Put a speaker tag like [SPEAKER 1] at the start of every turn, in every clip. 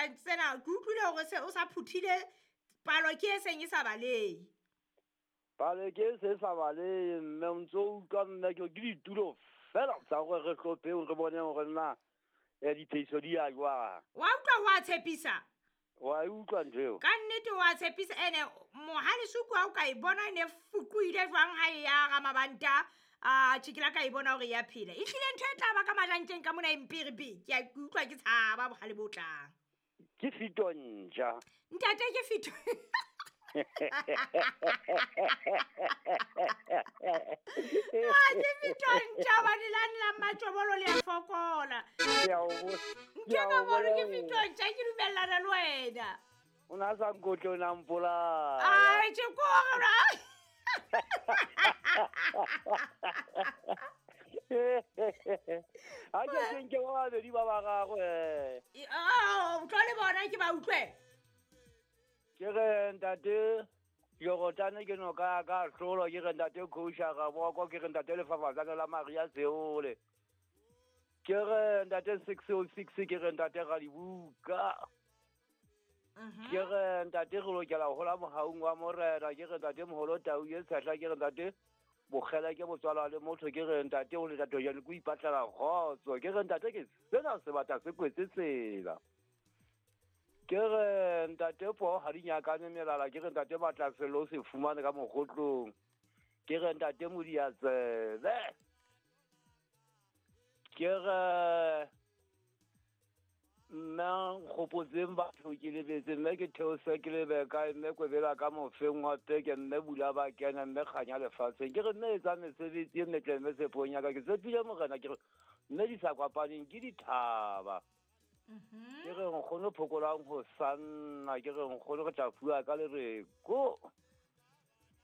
[SPEAKER 1] tsa tsena ke utlwile hore se o sa phuthile palo ke e seng e sa balehe.
[SPEAKER 2] Palo ke e se sa balehe mme o ntso utlwa mme ke ditulo fela tsa gore re hlopheng re bone hore na diphehiso di ya jwang.
[SPEAKER 1] Wa utlwa ho a tshepisa?
[SPEAKER 2] Wa e utlwa ntho eo?
[SPEAKER 1] Ka nnete wa tshepisa ene mohalesuku ha o ka e bona e ne fukuile jwang ha e ya ramabanta a tjhe ke la ka e bona hore ya phela. E hlile ntho e tla ba ka majantjeng ka mona e mpere ke a utlwa ke tshaba bohale bo tlang.
[SPEAKER 2] Ke fito ntja.
[SPEAKER 1] Ntate ke fito. Ke fito ntja hobane lane la matjobolo le a fokola. Ntho ka bolo ke fito ntja ke dumellana le wena.
[SPEAKER 2] O na sa nkotle o na mpolaya.
[SPEAKER 1] Ai tjhe kore.
[SPEAKER 2] Ha ke nke ba babedi ba bararo
[SPEAKER 1] Oh, tlo le bona ke ba utlwe.
[SPEAKER 2] Ke re ntate Jorotane ke noka ya ka hlolo, ke re ntate Khousha Raboko, ke re ntate Lefafatsane la Maria Seole. Ke re ntate 606, ke re ntate Radibuka. Ke re ntate re lokela ho hola mohaung wa Morena, ke re ntate Moholo Tau e tshehla, ke re ntate Bokgela ke motswala le motho, ke re ntate o le tatho jane ko ipatlela kgotso, ke re ntate ke sena sebata se kwetse tsela. Ke re ntate po ha di nyakane melala, ke re ntate batla selo se fumane ka mogotlong, ke re ntate Modiatsebe. Ke re nna nkgopotseng batho ke lebetse mme ke theose ke lebe kae mme kwebela ka mofeng wa peke mme bula ba kena mme kganya lefatsheng. Ke re mme etsa mesebetsi e metle mme tshepong ya ka ke tshepile Morena, ke re mme di sa kopaneng ke dithaba. Ke re nkgono phokolang ho sanna, ke re nkgono re tla fuwa ka lereko.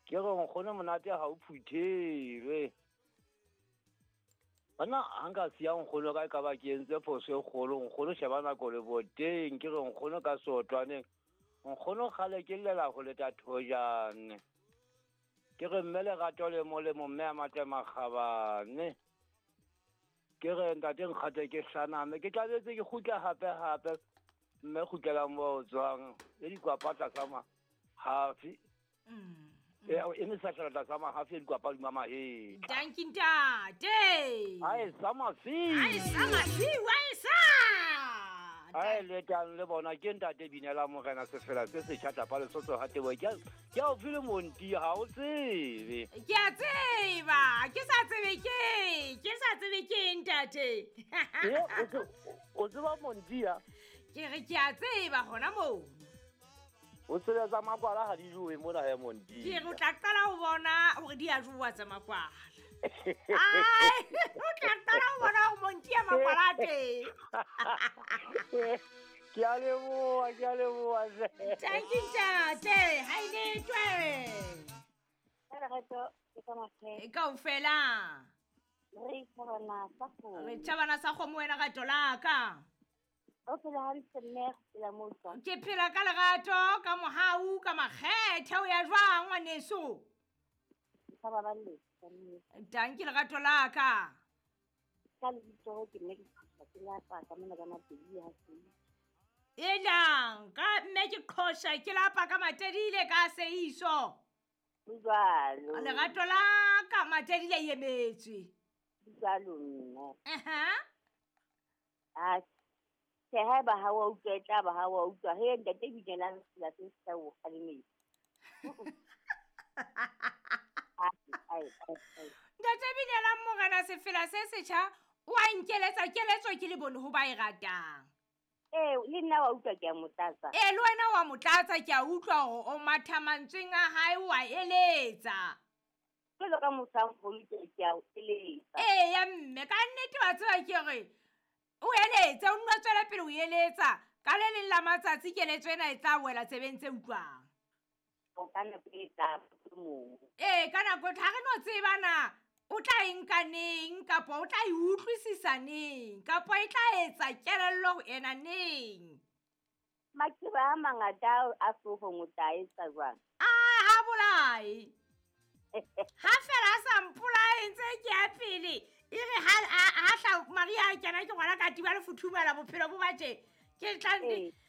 [SPEAKER 2] Ke re nkgono monate ha o phuthelwe. Bana ha nka siya nkgono ka e ka ba ke entse phoso e kgolo, nkgono sheba nako le boteng, ke re nkgono ka sotwaneng, nkgono kgale ke llela ho leta thojane. Ke re mme lerato le molemo mme a matle makgabane. Ke re ntate nkgate ke hlaname, ke tlabetse ke kgutla hape hape, mme kgutlela moo o tswang, le dikwapa tlasa mahafi. E mesahlela tlasa mahafi e dikwapa hodima mahetla.
[SPEAKER 1] Dankie ntate.
[SPEAKER 2] Ai sa mafiu.
[SPEAKER 1] Ai sa mafiu, ai sa.
[SPEAKER 2] Ai le tang le bona ke ntate Binela Morena sefela se setjha tapa Lesotho ha tebo. Ke a o file monti ha o tsebe.
[SPEAKER 1] Ke a tseba, ke sa tsebe ke sa tsebe ke ntate.
[SPEAKER 2] O tseba monti ya?
[SPEAKER 1] Ke re ke a tseba hona moo.
[SPEAKER 2] O tseba tsa makwala ha di jowe mona ya monti.
[SPEAKER 1] Ke re o tla qala ho bona hore di a jowa tsa makwala. Ai, o tla qala ho bona hore monti ya makwala a teng.
[SPEAKER 2] Ke a leboha, ke a leboha.
[SPEAKER 1] Thank you ntate, ha e letwe.
[SPEAKER 3] Lerato ke ka mahleng.
[SPEAKER 1] E kaofela.
[SPEAKER 3] Re thabana sa kgomo.
[SPEAKER 1] Re thabana sa kgomo wena rato la ka.
[SPEAKER 3] O phela hantle mme, re phela moo jwang?
[SPEAKER 1] Ke phela ka lerato, ka mohau, ka makgethe, o ya jwang ngwaneso?
[SPEAKER 3] Sa ba ba le, ka nnete.
[SPEAKER 1] Dankie lerato la ka.
[SPEAKER 3] Ka lebitso ke mme ke qhosha ke lapa ka mona ka Matedile ha se.
[SPEAKER 1] Elang, ka mme ke qhosha ke lapa ka Matedile ka Seiso.
[SPEAKER 3] Ho jwalo.
[SPEAKER 1] Lerato la ka Matedile e emetswe.
[SPEAKER 3] Ho jwalo mme.
[SPEAKER 1] Aha.
[SPEAKER 3] A tjhe, haeba ha wa utlwa, e tla ba ha wa utlwa. He, ntate Binelang sefela se setjha o kgalemetse.
[SPEAKER 1] Ntate Binelang Morena sefela se setjha o a nkeletsa keletso ke le bone ho ba e ratang.
[SPEAKER 3] Ee, le nna wa utlwa ke a mo tlatsa.
[SPEAKER 1] Ee, le wena wa mo tlatsa, ke a utlwa hore o matha mantsweng a hae o a eletsa.
[SPEAKER 3] Jwalo ka motho a moholo ke a o eletsa.
[SPEAKER 1] Ee, ya mme, ka nnete wa tseba ke re o eletse, o nno tswela pele o eletsa. Ka le leng la matsatsi keletso ena e tla wela tsebeng tse utlwang.
[SPEAKER 3] O ka nako e tla mong.
[SPEAKER 1] Ee, ka nako ha re no tseba na o tla e nka neng, kapa o tla e utlwisisa neng, kapa e tla etsa kelello ho ena neng.
[SPEAKER 3] Maqeba a mangata a hloohong o tla etsa jwang?
[SPEAKER 1] A ha bolae. Ha fela a sa mpolae ntse ke ya pele. E re ha hla Maria a kena ke ngwana ka tiba le futhumala bophelo bo ba tje. Ke tla